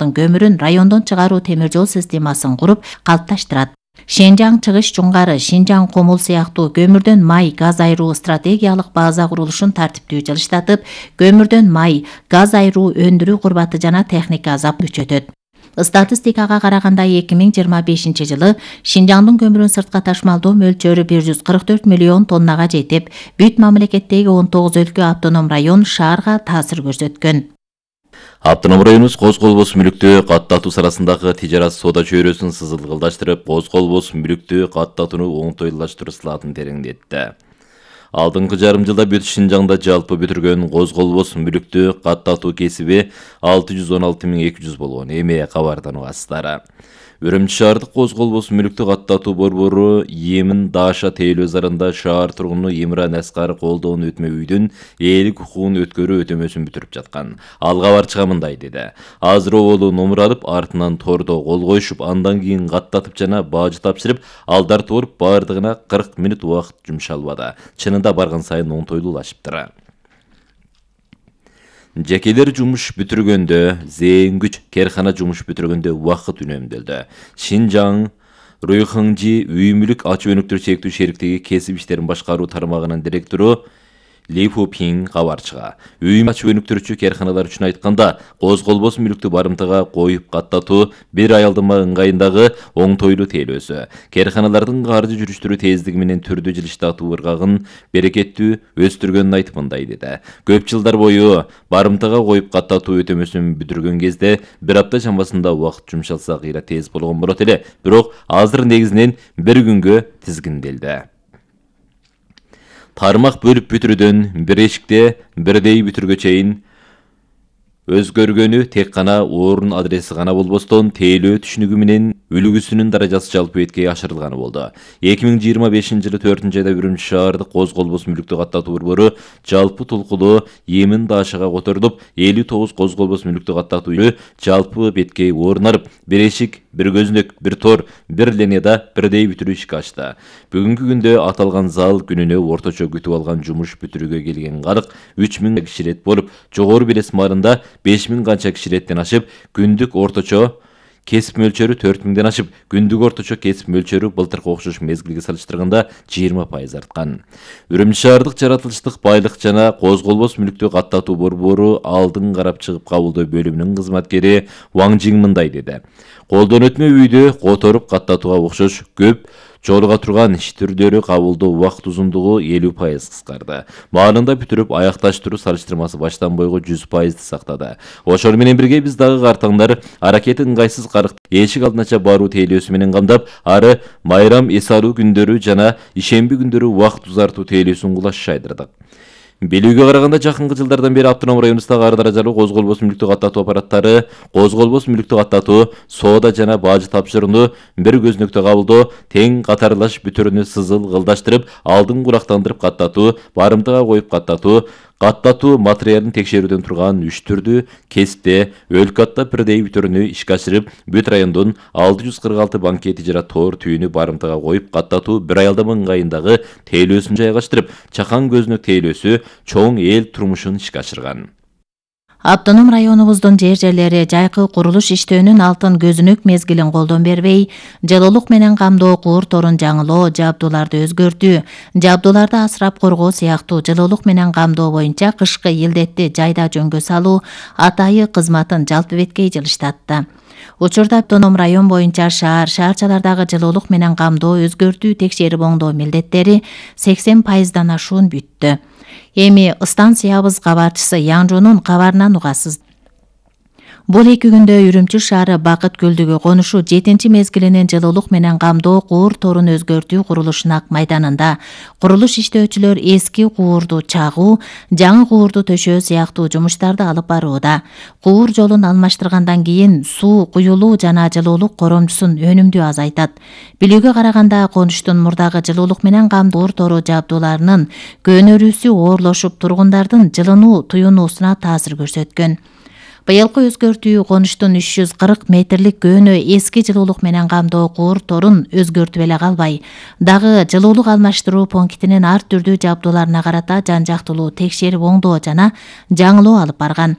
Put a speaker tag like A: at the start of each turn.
A: Шинжаңдын көмүрүн райондон чыгаруу темир жол системасын куруп калыпташтырат. Шенжаң Чыгыш Жуңгары, Шинжаң Комул сыяктуу көмүрдөн май, газ айыруу стратегиялык база курулушун тартиптүү жылыштатып, көмүрдөн май, газ айыруу, өндүрүү курбаты жана техника азап күчөтөт. Статистикага караганда 2025 жылы Шинжаңдын көмүрүн сыртка ташмалдоо мөлчөрү 144 миллион тоннага жетип, бүт мамлекеттеги 19 өлкө автоном район шаарга таасир көрсөткөн.
B: Автоном районубуз Коз Колбос мүлүктү каттатуу арасындагы тижарат соода чөйрөсүн сызылгылдаштырып, Коз Колбос мүлүктү каттатууну оңтойлаштыруу сылатын тереңдетти. Алдыңкы жарым жылда бүт Шинжаңда жалпы бүтүргөн Коз Колбос мүлүктү каттатуу кесиби 616.200 болгон. Эми кабардан угасыздар. Үрүмчү шаардык Коз Колбос мүлүктү каттатуу борбору Емин Даша тейлөө зарында шаар тургуну Имран Аскар колдоон өтмө үйдүн ээлик укугун өткөрүү өтөмөсүн бүтүрүп жаткан. Ал кабарчыга мындай деди. Азыр оолу номур алып, артынан тордо кол коюшуп, андан кийин каттатып жана баажы тапшырып, алдар туруп бардыгына 40 мүнөт убакыт жумшалбады. Чынында барган сайын оңтойлуулашыптыр. Жекелер жумуш бүтүргөндө, зээнгүч керкана жумуш бүтүргөндө убакыт үнөмдөлдү. Шинжаң Руйхыңжи үй мүлүк ачуу өнүктүрүү чектүү шериктиги кесип иштерин башкаруу тармагынын директору Ли Фу Пинг кабарчыга. Үй ачуу өнүктүрүүчү керканалар үчүн айтканда, Коз Колбос мүлүктү барымтага коюп каттатуу бир айалдыма ыңгайындагы оңтойлуу тейлөөсү. Керканалардын каржы жүрүштүрүү тездиги менен түрдүү жылыштатуу ыргагын берекеттүү өстүргөнүн айтып мындай деди. Көп жылдар бою барымтага коюп каттатуу өтөмөсүн бүтүргөн кезде бир апта чамасында убакыт жумшалса кыйра тез болгон болот эле, бирок азыр негизинен бир күнгө тизгинделди. Тармак бөлүп бүтүрүүдөн бир эшикте бирдей бүтүргө чейин өзгөргөнү тек гана орун адреси гана болбостон, тейлөө түшүнүгү менен үлгүсүнүн даражасы жалпы беткей ашырылганы болду. 2025 жылы 4-айда Үрүмчү шаардык Коз Колбос мүлүктү каттатуу борбору жалпы толкулуу Емин Дашага которулуп, 59 Коз Колбос мүлүктү каттатуу жалпы беткей орун алып, бир эшик, бир көзүнөк, бир тор, бир линияда бирдей бүтүрүү ишке ашты. Бүгүнкү күндө аталган зал күнүнө орточо күтүп алган жумуш бүтүрүүгө келген калк 3000 киши рет болуп, жогору белес маарында 5000 канча киши реттен ашып, күндүк орточо кесип мөлчөрү 4000ден ашып, күндүк орточо кесип мөлчөрү былтыркы окшош мезгилге салыштырганда 20% арткан. Үрүмчү шаардык жаратылыштык байлык жана Коз Колбос мүлүктү каттатуу борбору алдын карап чыгып кабылдоо бөлүмүнүн кызматкери Ваң Жиң мындай деди. Колдон өтмө үйдү которуп каттатууга окшош көп жолуга турган иш түрлөрү кабылдоо убакыт узундугу 50% кыскарды. Маалында бүтүрүп аякташтыруу салыштырмасы баштан бойго 100% сактады. Ошол менен бирге биз дагы картаңдар аракети ыңгайсыз карык эшик алдынача баруу тейлөөсү менен камдап, ары майрам эс алуу күндөрү жана ишемби күндөрү убакыт узартуу тейлөөсүн кулашайдырдык. Белүүгө караганда жакынкы жылдардан бери автоном районубуздагы ар даражалуу Коз Колбос мүлүктү каттатуу аппараттары Коз Колбос мүлүктү каттатуу, соода жана баажы тапшырууну бир көзүнөктө кабылдоо, тең катарлаш бүтүрүүнү сызылгылдаштырып, алдын курактандырып каттатуу, барымтага коюп каттатуу материалын текшерүүдөн турган 3 түрдүү кесипте өлкө атта бирдей бүтүрүүнү ишке ашырып, бүт райондон 646 банкет тижарат тоор түйүнү барымтага коюп каттатуу бир айалдама ыңгайындагы тейлөөсүн жайгаштырып, чакан көзүнөк тейлөөсү чоң эл турмушун ишке ашырган.
A: Автоном районубуздун жерлери жайкы курулуш иштөөнүн алтын көзүнөк мезгилин колдон бербей, жылуулук менен камдоо, куур торун жаңылоо, жабдууларды өзгөртүү, жабдууларды асырап коргоо сыяктуу жылуулук менен камдоо боюнча кышкы илдетти жайда жөнгө салуу атайы кызматын жалпы беткей жылыштатты. Учурда автоном район боюнча шаарчалардагы жылуулук менен камдоо, өзгөртүү, текшерип оңдоо милдеттери 80%дан ашуун бүттү. Эми станциябыз кабарчысы Яңжонун кабарынан угасыз. Бул 2 күндө Үрүмчү шаары Бакыт көлдүгү конушу 7 мезгилинин жылуулук менен камдоо, куур торун өзгөртүү курулушун ак майданында курулуш иштөөчүлөр эски куурду чагуу, жаңы куурду төшөө сыяктуу жумуштарды алып барууда. Куур жолун алмаштыргандан кийин суу куюлуу жана жылуулук коромчусун өнүмдүү азайтат. Билүүгө караганда конуштун мурдагы жылуулук менен камдоо куур тору жабдууларынын көнөрүүсү оорлошуп, тургундардын жылынуу туюнуусуна таасир көрсөткөн. Быйылкы өзгөртүү конуштун 340 метрлик көөнө эски жылуулук менен камдоо куур торун өзгөртүп эле калбай, дагы жылуулук алмаштыруу пунктинин ар түрдүү жабдууларына карата жан жактылуу текшерип оңдоо жана жаңылоо алып барган.